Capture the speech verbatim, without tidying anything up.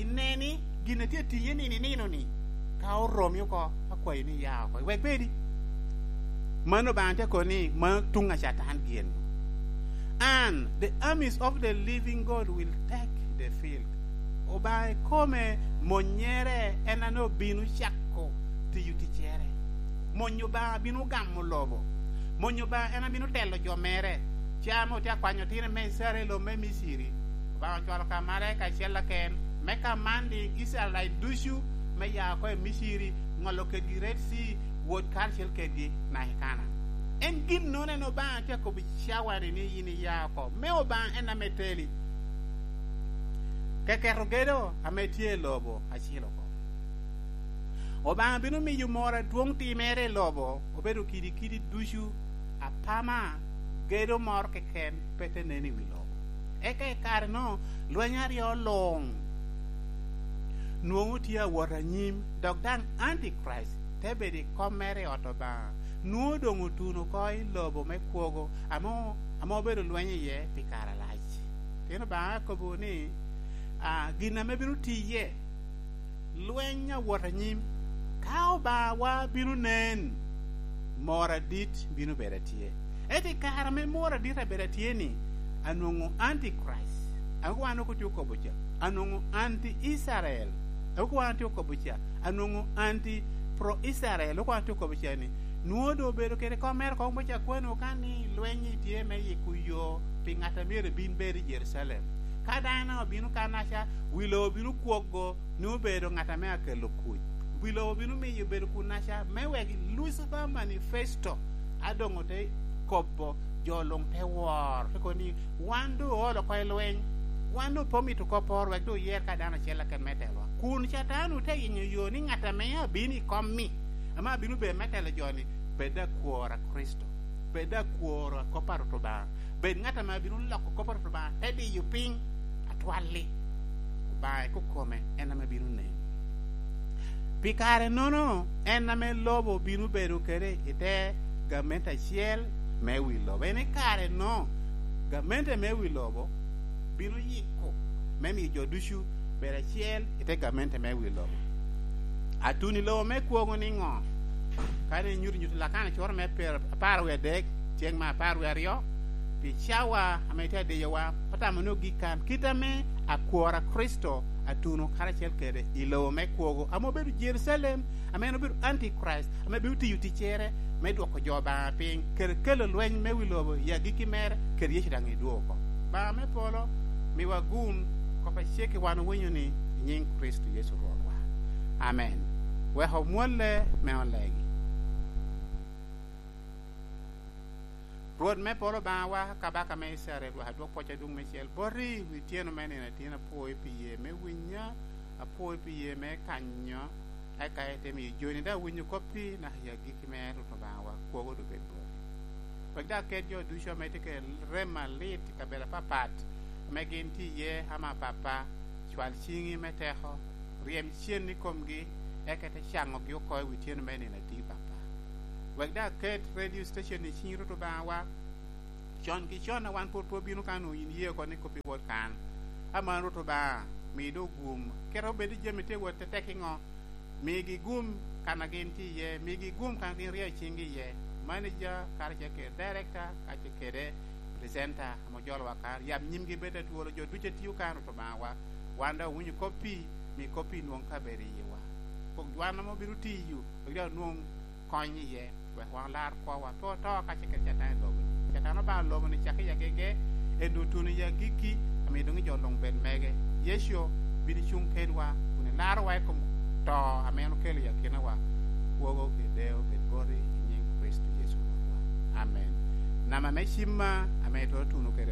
Ine ni gin a tye atiye nino i nino-ni, ka oromi oko, akwayi ni ya oko, wek bedi. Mano Obaŋa tye kono ni mano tuŋ a Catan gin. And the armies of the living God will take the field. Obaŋa ikome monyere en ame obino cako tiyo ticcere. Mony Obaŋa bino gamo lobo. Mony Obaŋa en abino telo jo mere. Ca ame otye akwanyo otino me Icrael i lobo me Miciri, Obaŋa ocwalo ka malaika acel aken, me commanding Icraelite ducu me ya oko i Miciri, ŋolo kedgi Red Sea, wot karacel kedgi naka i Kana. En ginnono en Obaŋa tye akobo i cawa-ni ni yin iya oko, me Obaŋa en ame teli. Keketo gedo ame tye i lobo acil oko. Obaŋa bino miyo moro adwoŋ timere i lobo, obedo kidi kidi ducu, apama, gedo moro keken pe te nen i wi lobo. Eka i kare-nu, lweny aryo luŋ nwoŋo tye awot anyim, dok daŋ Antichrist te bedo i kom mere i ot Obaŋa. Nwoŋo doŋ otuno oko i lobo me kwogo ame, ame obedo lweny iye pi kare alac. Pien Obaŋa akobo ni, a, gin ame bino tiye, lweny awot anyim. Ka Obaŋawa bino nen, mor adit bino bedo atye. Ento i kare ame mor adit abedo atye-ni, anwoŋo Antichrist, ame wan ok otye okobo ca, anwoŋo anti-Icrael, ame wan otye okobo ca, anwoŋo anti-pro-Icrael, ame wan otye okobo ca-ni, nwoŋo doŋ obedo kede kom mere oko me cakwano ka ni lweny-nyi tye me yiko yo pi ŋat a myero ebin bed i Jerucalem. Ka dano obino kannaca, wi lobo bino kwogo, ni obedo ŋat ame akelo kuc. Wi lobo bino miyo obedo kunnaca, me wek Lucifer Manifesto a doŋ ote kobo, jo luŋ te wor, te kobo ni, "Wan doŋ oolo oko i lweny, wan doŋ pe omito kop oro, wek doŋ oyer ka dano acel keken me telowa." Kun Catan ote yenyo yo ni ŋat ame abino i kom-mi, ame abino bedo me telo jo-ni, bed akwor a Kricito, bed akwor a kop a Rwot Obaŋa, bed ŋat ame abino loko kop a Rwot Obaŋa, te diyo piny atwal-li. Obaŋa ikokome en ame bino nen. Pi kare-nono, en ame lobo bino bedo kede i te gamente acel me wi lobo. En i kare-no, gamente me wi lobo bino yiko me miyo jo ducu bedo acel i te gamente me wi lobo. Atun i lobo me kwogo niŋo? Ka ni nyuto nyuto Lakana coro me per-, apar wie adek, ceng me apar wie aryo, pi cawa ame tye adiyowa, pe tamo ni ogik kan, kit ame akwor a Kricito atuno karacel kede i lobo me kwogo, ame obedo Jerucalem, ame en obedo Antichrist, ame bino tiyo ticcere me dwoko jo Obaŋa piny, kede kelo lweny me wi lobo i agikki mere, kede Yecu daŋ edwogo oko. Obaŋa me polo, miwa gum, kop acek i wan owinyo ni, i nyiŋ Kricito Yecu Rwotwa. Amen. Wek omwolle me olegi. Rwot me polo Obaŋawa, Kabaka me Icrael, wek adwok pwoc adwoŋ meicel boti, wi tyeno me nino atyen, apwoyi pi ye me winya, apwoyi pi ye me kanyo, eka ite miyo joni daŋ winyo koppi naka i agikki mere, Rwot Obaŋawa, kwogo doŋ bed boti. Wek daŋ ket jo ducu ame tye kede rem alit i kabedo apapat, ame gin tye iye, ama Papa, cwal ciŋi me teko, ryem cen i komgi, eka ite caŋogi oko i wi tyeno me nino atir, Papa. Wek daŋ ket radio station i ciŋi, Rwot Obaŋawa, con ki con a wan pwod pe obino kan, onwoŋo yin iye oko ni kop iwot kan. Aman, Rwot Obaŋa, mi doŋ gum, kite obed ni jami tye wot tetek iŋo, migi gum kan a gin tye iye, migi gum kan a gin ryeyo ciŋgi iye. Manager, karacel kede director, kacel kede presenter, ame ojolowa kan, yab nyimgi bed atwolo, jo ducu a tio kan, Rwot Obaŋawa. Wan daŋ owinyo koppi, mi koppi nwoŋ kabedo i yiwa. Pok wan ame obino tiyo, wek daŋ onwoŋ kony iye, wek wan olar kwowa, pe oto kacel kede Catan i lobo-ni. Catan obalo lobo-ni cakke i agege, en doŋ otuno i agikki, amiyo doŋ jo luŋ bed mege. Yecu, bin icuŋ kedwa, kun ilarowa i kom to ame en okelo i akinawa. Kwogo kede deyo bed boti i nyiŋ Kricito Yecu Rwotwa. Amen. Namba me cimma ame itwero tuno kede